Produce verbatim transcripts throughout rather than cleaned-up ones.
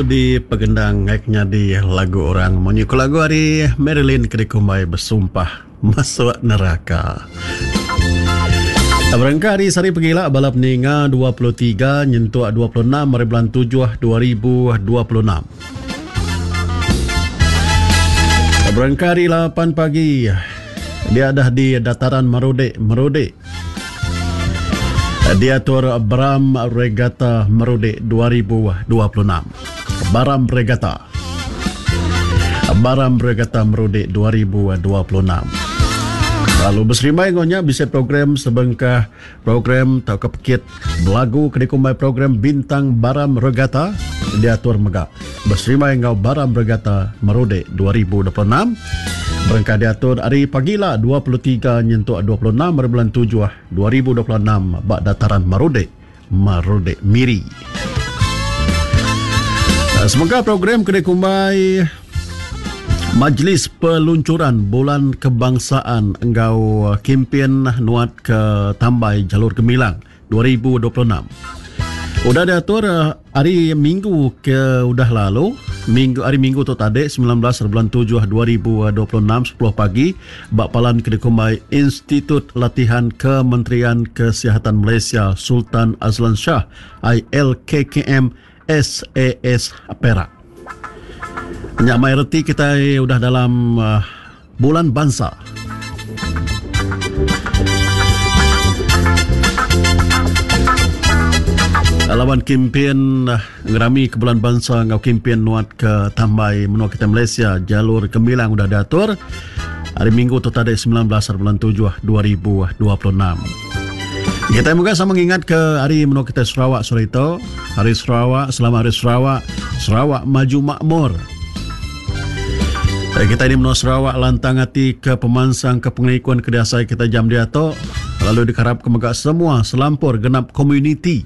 Di pegendang ngai nyadi lagu orang munyi ku lagu ari Marilyn ke dikumbai Besumpah Masuk Neraka. Berengkah ari sehari pegila bala peninga dua puluh tiga nyentuk dua puluh enam hari bulan tujuh dua ribu dua puluh enam. Berengkah ari lapan pagi dia dah di dataran Merudek Merudek. Diatur Baram Regatta Merudek dua ribu dua puluh enam. Baram Regatta. Baram Regatta Merudek dua ribu dua puluh enam. Lalu berserimbai ngonya bisa program sebengkah program tauka pekit belagu ke dikumbai program Bintang Baram Regatta diatur mega. Berserimbai ngau Baram Regatta Merudek dua ribu dua puluh enam. Berengkah diatur hari pagila dua puluh tiga nyentuk dua puluh enam hari bulan tujuh dua ribu dua puluh enam ba dataran Merudek, Merudek Miri. Semoga program ke dikumbai Majlis Peluncuran Bulan Kebangsaan enggau Kempen Nuat ke Tambai Jalur Gemilang dua ribu dua puluh enam. Udah diatur hari Minggu ke udah lalu, minggu hari Minggu tu tadi sembilan belas bulan tujuh dua ribu dua puluh enam sepuluh pagi ba palan ke dikumbai Institut Latihan Kementerian Kesihatan Malaysia Sultan Azlan Shah I L K K M S A S Perak. Nyak mai reti kita udah dalam uh, bulan bangsa. Lawan kempen ngerami ke bulan bangsa ngau kempen nuat ke tambai menua kita Malaysia Jalur Gemilang udah diatur hari Minggu tu tadi sembilan belas bulan tujuh dua ribu dua puluh enam. Kita juga sama mengingat ke hari menua kita Sarawak sore itu, hari Sarawak, selamat hari Sarawak, Sarawak maju makmur. Kita ini menua Sarawak lantang hati ke pemansang ke pengikun ke diasai kita jam dia tu, lalu dikarap ke megak semua selampur genap komuniti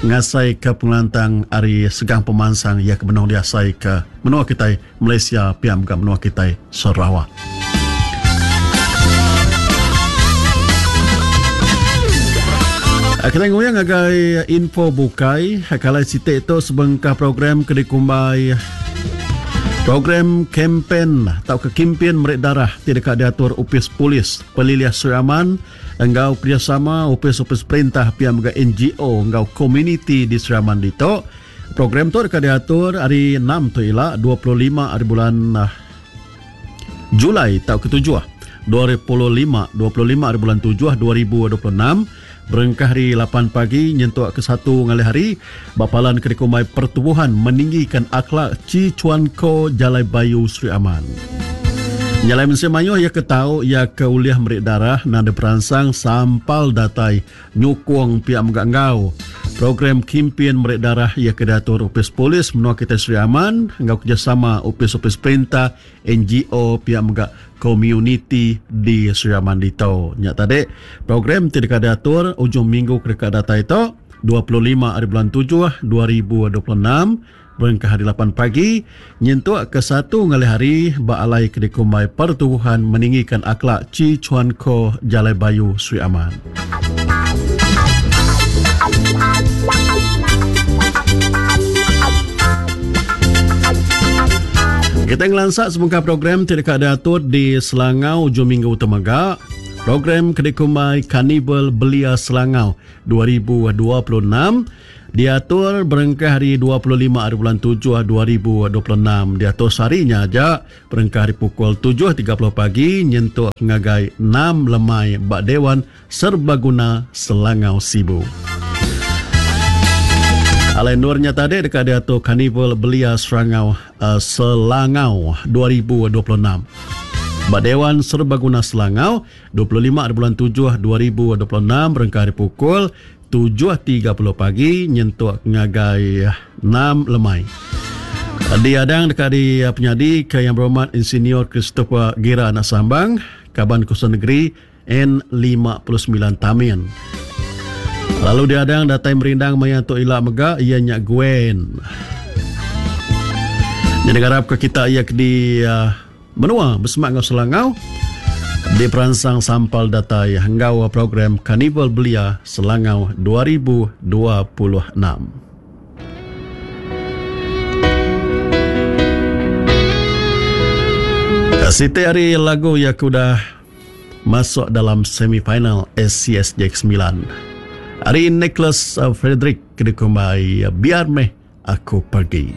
ngasai ke pengelantang hari segang pemansang ia ke menua diasai ke menua kita Malaysia piam ke menua kita Sarawak. Kita nguyang agai info bukai kalau sitik itu sebengkah program ke dikumbai program kempen atau ke kempen merik darah tidak diatur Upis Polis Peliliah Sri Aman enggau kerjasama upis-upis perintah pihak mega N G O enggau komuniti di Sri Aman dito. Program tu dekat diatur hari enam tu ila dua puluh lima hari bulan Julai tahun ketujuh dua ribu lima dua puluh lima hari bulan tujuh dua ribu dua puluh enam berengkah hari lapan pagi nyentuk ke satu ngalih hari bapalan ke dikumbai Pertubuhan Meninggikan Akhlak Ci Chuan Ko Jalai Bayu Sri Aman. Nyalai mensia mayuh ia ke tau ia ke uliah merik darah nang diperansang sampal datai nyukung pihak megak ngau. Program kempen merik darah ia ke diatur Upis Polis menua kita Sri Aman ngau kerjasama upis-upis perintah N G O pihak megak komuniti di Sri Aman dito. Nyak tadi program tidak diatur ujung minggu ke dekat data itu dua puluh lima hari bulan tujuh dua ribu dua puluh enam berengkah hari lapan pagi nyentuk ke satu ngalih hari ba alai ke dikumbai Pertubuhan Meninggikan Akhlak Ci Chuan Ko Jalai Bayu Sri Aman. Kita ngelansak sebengkah program tidak diatur di Selangau ujung minggu temaga. Program Kedikumai Karnival Belia Selangau dua ribu dua puluh enam diatur berengkah hari dua puluh lima hari bulan tujuh dua ribu dua puluh enam. Diatur seharinya aja berengkah hari pukul tujuh tiga puluh pagi nyentuk ngagai enam lemai bak Dewan Serbaguna Selangau Sibu. Alai nurnya tadi dekat diatur Karnival Belia Selangau, uh, Selangau dua ribu dua puluh enam. Bak Dewan Serbaguna Selangau dua puluh lima hari bulan tujuh dua ribu dua puluh enam berengkah hari pukul tujuh tiga puluh pagi nyentuk ngagai enam lemai. Diadang dekat di penyadi ke Yang Berhormat Insinyur Christopher Gira Anak Sambang, Kaban Kuasa Negeri N lima puluh sembilan Tamin. Lalu diadang datai merindang maya tu ila mega ia nyak Gwen. Jadi harap ke kita ia ke di uh, menua bersemak ngau Selangau di peransang sampal datai henggau program Karnival Belia Selangau dua ribu dua puluh enam. Siti ari lagu iya ke udah masuk dalam semifinal S C S J sembilan. Ari Nicholas Frederick ke dikumbai Biar Meh Aku Pergi.